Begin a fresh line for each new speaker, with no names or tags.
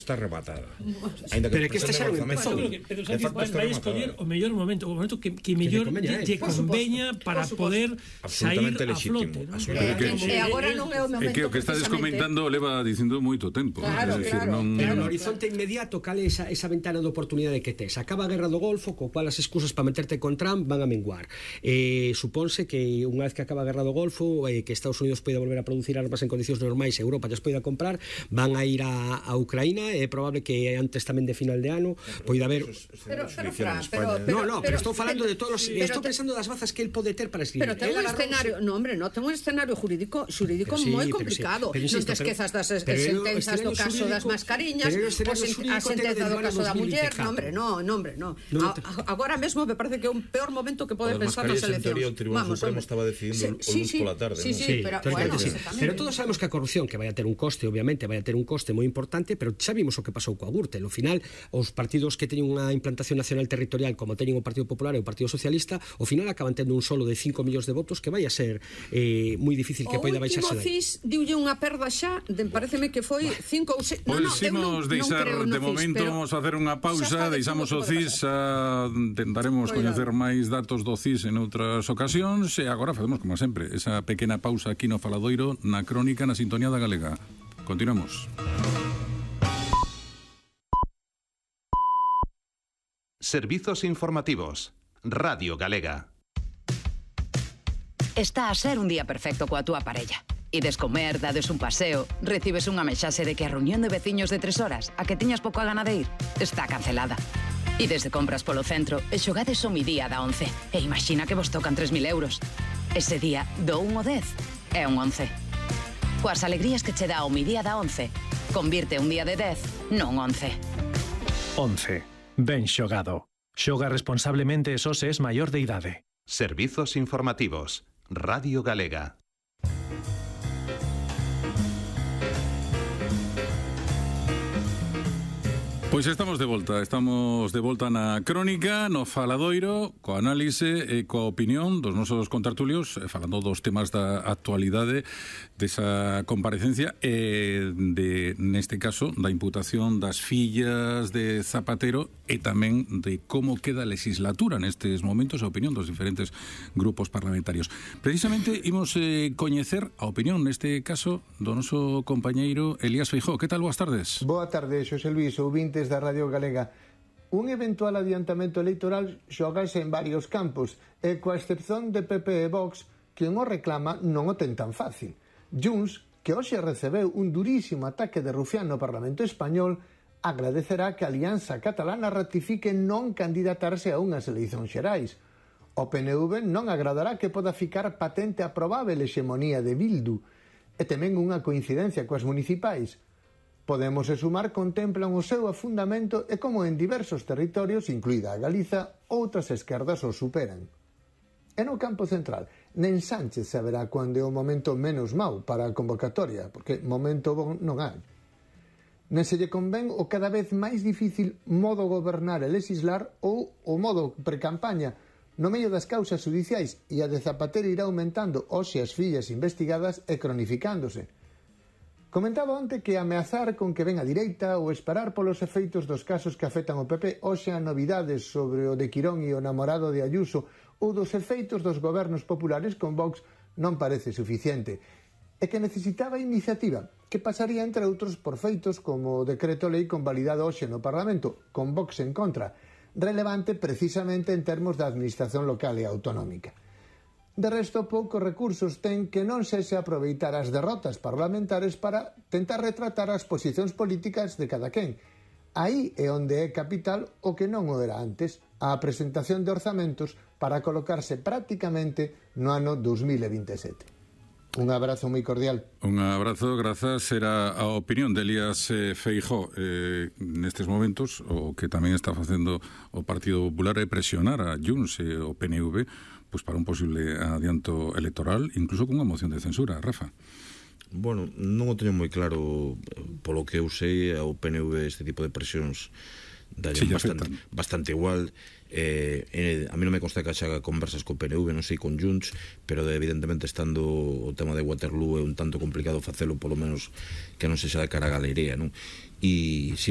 está rematada.
Pero é que este xa non empezou.
Pero Sánchez vai escoller o mellor momento, o momento que mellor lle conveña para poder sair a flote.
E agora non é o momento.
É que o que estades comentando leva dicindo moito tempo.
Claro.
Pero no horizonte inmediato, cal é esa ventana de oportunidade que tes? Acaba a guerra do Golfo, co cual as excusas para meterte con Trump van a menguar. Supónse que unha vez que acaba a guerra do Golfo, que Estados Unidos poida volver a producir armas en condicións normais e Europa lles poida comprar, van a ir a Ucraína. É probable que antes tamén de final de ano poida haber...
Pero
estou falando de todos os... Estou pensando das bazas que el pode ter para escribir.
Pero ten un escenario... No, hombre, ten un escenario jurídico moi complicado. Non te esquezas das sentenzas do caso das mascariñas, a sentenza do caso da muller. No, hombre, no. Agora mesmo me parece que é un peor momento que pode pensar nas eleccións.
O Tribunal Supremo estaba decidindo o lunes pola tarde.
Pero todos sabemos que a corrupción, que vai a ter un coste, obviamente, vai a ter un coste moi importante, pero xa vimos o que pasou coa Gürtel. Ao final, os partidos que teñen unha implantación nacional territorial como teñen o Partido Popular e o Partido Socialista, ao final acaban tendo un solo de 5 millóns de votos que vai a ser moi difícil que poida baixarse dai.
O último CIS diulle unha perda xa, pareceme que foi 5 ou 6...
Pois deixar de momento, vamos a facer unha pausa, deixamos o CIS, tentaremos coñecer máis datos do CIS en outras ocasións e agora facemos como sempre, esa pequena pausa aquí no Faladoiro, na crónica, na sintonía da Galega. Continuamos.
Servizos informativos. Radio Galega.
Está a ser un día perfecto coa túa parella. Ides comer, dades un paseo, recibes unha mensaxe de que a reunión de veciños de 3 horas, a que tiñas pouco a gana de ir, está cancelada. Ides de compras polo centro e xogades o mi día da 11. E imagina que vos tocan 3.000 euros. Ese día do 1 ao 10 é un 11. Coas alegrías que che dá o mi día da 11, convirte un día de 10 nun 11.
11. Ben xogado. Xoga responsablemente e só se es maior de idade.
Servizos informativos. Radio Galega.
Pois estamos de volta na crónica, no Faladoiro, coa análise e coa opinión dos nosos contertulios, falando dos temas da actualidade desa comparecencia e neste caso, da imputación das fillas de Zapatero e tamén de como queda a legislatura nestes momentos, a opinión dos diferentes grupos parlamentarios. Precisamente imos coñecer a opinión neste caso do noso compañeiro Elías Feijóo. Que tal? Boas tardes.
Boa tarde, Xosé Luís, ouvintes da Radio Galega. Un eventual adiantamento electoral xogase en varios campos e coa excepción de PP e Vox, que non o reclama non o ten tan fácil. Junts, que hoxe recebeu un durísimo ataque de rufián no Parlamento Español, agradecerá que a Alianza Catalana ratifique non candidatarse a unhas eleicións xerais. O PNV non agradará que poda ficar patente a probável hexemonía de Bildu e tamén unha coincidencia coas municipais. Podemos e Sumar contemplan o seu afundamento e como en diversos territorios, incluída a Galiza, outras esquerdas o superan. E no campo central, nen Sánchez saberá cando é o momento menos mau para a convocatoria, porque momento bon non hai. Nen se lle convén o cada vez máis difícil modo gobernar e legislar ou o modo precampaña no medio das causas judiciais, e a de Zapatero irá aumentando hoxe as fillas investigadas e cronificándose. Comentaba onte que ameazar con que ven a direita ou esperar polos efeitos dos casos que afectan o PP hoxe a novidades sobre o de Quirón e o namorado de Ayuso ou dos efeitos dos gobernos populares con Vox non parece suficiente. E que necesitaba iniciativa, que pasaría entre outros por feitos como o decreto lei convalidado hoxe no Parlamento, con Vox en contra, relevante precisamente en termos da administración local e autonómica. De resto, poucos recursos ten que non se aproveitar as derrotas parlamentares para tentar retratar as posicións políticas de cada quen. Aí é onde é capital o que non o era antes, a presentación de orzamentos para colocarse prácticamente no ano 2027. Un abrazo moi cordial.
Un abrazo, grazas. Era a opinión de Elías Feijóo. Nestes momentos, o que tamén está facendo o Partido Popular é presionar a Junts e o PNV pues para un posible adianto electoral, incluso con unha moción de censura. Rafa.
Bueno, non o teño moi claro. Polo que eu sei, ao PNV este tipo de presións bastante igual. A mí non me consta que haxa conversas co PNV, non sei con Junts, pero evidentemente estando o tema de Waterloo é un tanto complicado facelo, polo menos que non sexa de cara a galería, non? E si